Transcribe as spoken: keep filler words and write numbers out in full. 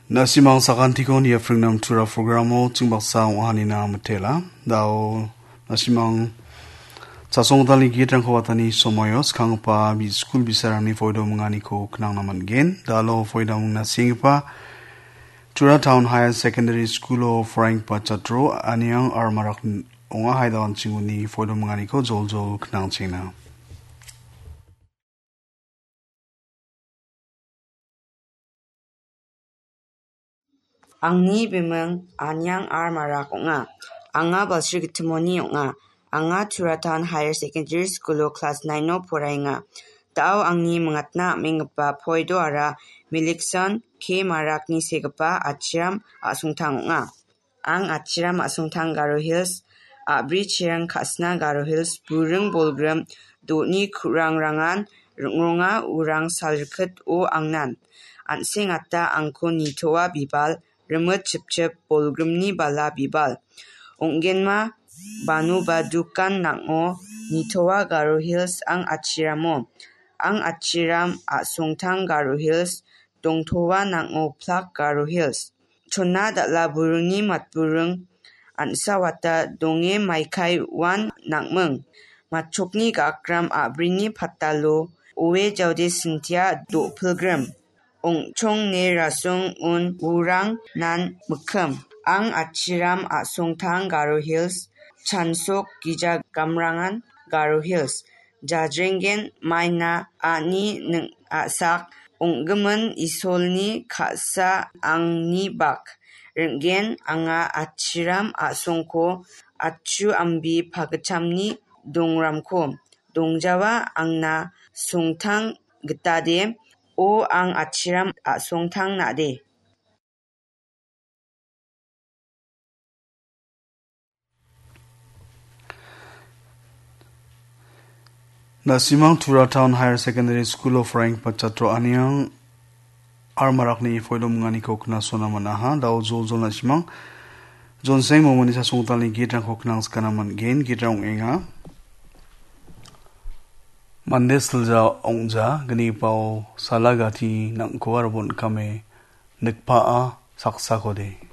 Na·simang sakantikon ia pringnam tura programo ching baksa ong·ahanina mitela. Dao na·simang chasongdalni gitrangko watani somoio skanggipa bi-, skul bisarangni foido minganiko knangna man·gen. Dalo foido mingna senggipa Tura Town Higher Secondary School-o poraienggipa chatro Aniang Armarak ong·a. Haida an·ching uni foido minganiko joljol knangchengna. Angni biming Aniang Armarak ong·a. Anga Balsri Gittimoni ong·a. Anga Tura Town Higher Secondary School-o klas nine-o poraenga. Dao angni mingatna am·enggipa poidoara Milikson K Marakni segipa Achiram A·songtang ong·a. Ang Achiram A·songtang Garo Hills, a·bri cherang ka·sna Garo Hills, buring bolgrim, do·ni ku·rangrangan ring·ronga urang salrikit o angnan. An·seng ata angko nitoa bibal, rimit chipchip bolgrimni bala bibal. Ong·genma banoba dukan nang·o nitoa Garo Hills ang Achiramo. Ang Achiram A·songtang Garo Hills, dongtoa nang·o plak Garo Hills. Chona dal·a buringni matburing an·sawata donge maikai uan nang·ming. Matchokni ga·akram a·brini patalo oe jaode sintia do·pilgrim. Ong·chong ne rasong un urang nan mikkim. Ang Achiram A·songtang Garo Hills, chansok gija gamrangan Garo Hills. Jajrenggen maina ani ning·asak ong·gimin Isolni ka·sa angni bak. Ring·gen anga Achiram A·songko achu ambi pagitchamni dongramko. Dongjawa angna songtang gitade, o ang Achiram A·songtang nade. Na·simang Tura Town Higher Secondary School-o poraienggipa chatro Aniang Armarakni foido minganiko knasona man·aha. Dao joljol na·simang. Jonseng momoni chasonggitalni gitrangko knangskana man·gen. Gitrang ong·enga. Mande silja ong·ja gnipao salagati nang·ko aro bon·kame nikpa·a saksakode.